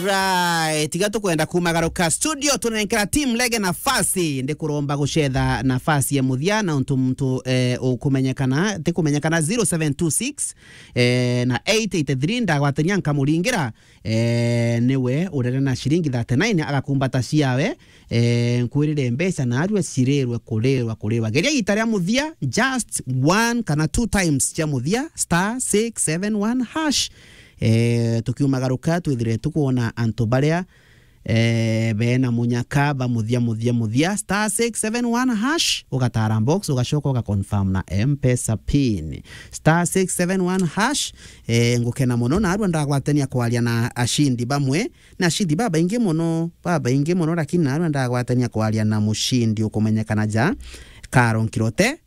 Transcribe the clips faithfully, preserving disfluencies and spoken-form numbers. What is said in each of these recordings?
Alright, tiga tukwenda kumagaruka studio, tunenkera team Lege nafasi. Ndikuromba gucetha nafasi ya muthia na untu muntu, eh, ukumenyekana, ti kumenyekana, zero seven two six, eh, na eight eight three, ndagwatania nkamuringira. Eh, niwe urere na ciringi thirty-nine, agakumbata ciawe. Eh, nkwirire mbeca narua cirirwe kurirwa, kurirwa. Geria ita ria muthia, just one kana two times cia muthia, star six seven one hash. Eh, tukiumagaruka, twithire tukwona antu baria, eh, bena munyaka ba muthia, muthia, muthia, star six seven one hash, ugatara box, ugacoka ugaconfirm na M-Pesa pin. Star six seven one hash, eh, ngukena mono, narua ndagwatania kwaria na ashindi bamwe, na ashindi babaingi mono, babaingi mono, lakini narua ndagwatania kwaria na mushindi ukumenyekana ja Karo Nkirote.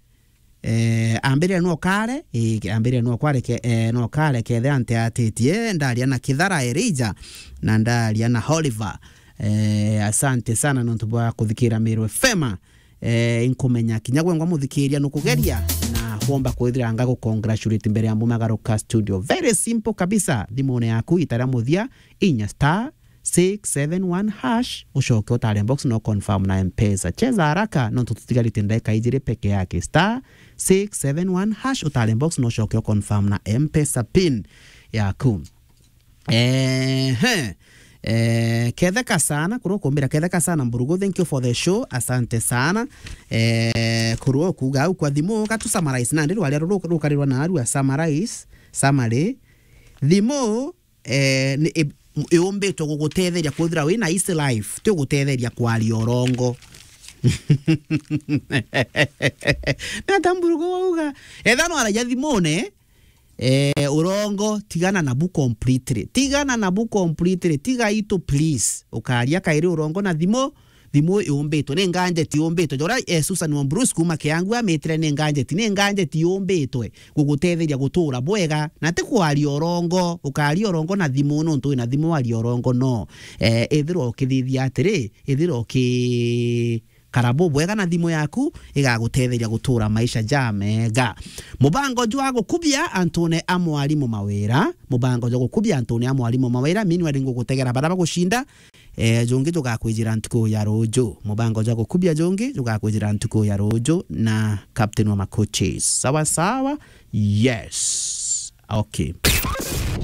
Eh, ambirire no kare, eh, ambirire no kware ke-, eh, no kare kethe ante atitie, ndaria na Kithara Elijah, na ndaria na Oliver. Eh, asante sana nontu bwa kuthikira Meru F M. Eh, inkumenya kinya gwengwa muthikiria nukugeria, na kwomba kwithira nga gucongratulate mbere ya mbumagaruka studio. Very simple kabisa. Thimune yaku, ita ria muthia, inya star six seven one hash, ucoke utare box no confirm na M-Pesa. Cheza haraka, nontu tutigarite ndagika ijiri peke yake. Star six seven one hash, utare box no ucoke u confirm na M-Pesa pin yaku. Ehe. Eh, ketheka sana, kurwa kumbira ketheka sana Mburugu, thank you for the show, asante sana. Eh, kurwa kuga au kwa thimu, gatu summarize nandi rwaria ruru rukarirwa na arua summarize, summary. Thimu, eh, ni, i-, yumbitwe gugutetheria kwithira wina easy life, ti gugutetheria kwaria urongo. Nata Mburugu wauga, etha no aragia thimune, eh, urongo, tigana nabu completely. Tigana nabu completely. Tiga itu, please. Ukaria kairi urongo na thimu, thimu yumbitwe. Ni nganjeti yumbitwe. Jora, eh, Susan Wambrus kuma Kiangu amitire ni nganjeti. Ni nganjeti yumbitwe gugutetheria gutura bwega. Na ti kwaria urongo. Ukaria urongo na thimu nontu wina thimu waria urongo no. Eh, ithirwa ukithithia atiri, ithirwa uki kara bubwega na thimu yaku, igagutetheria gutura maisha ja mega. Mubango jwa gukubia antune a mwarimu mawira, mubango jwa gukubia antune a mwarimu mawira, meanwhile ngugutegera bara bagucinda, eh, jungi jugakwijira ntuku ya ruju. Mubango jwa gukubia jungi jugakwijira ntuku ya ruju na Captain wa Macoaches. Sawa sawa? Yes. Okay.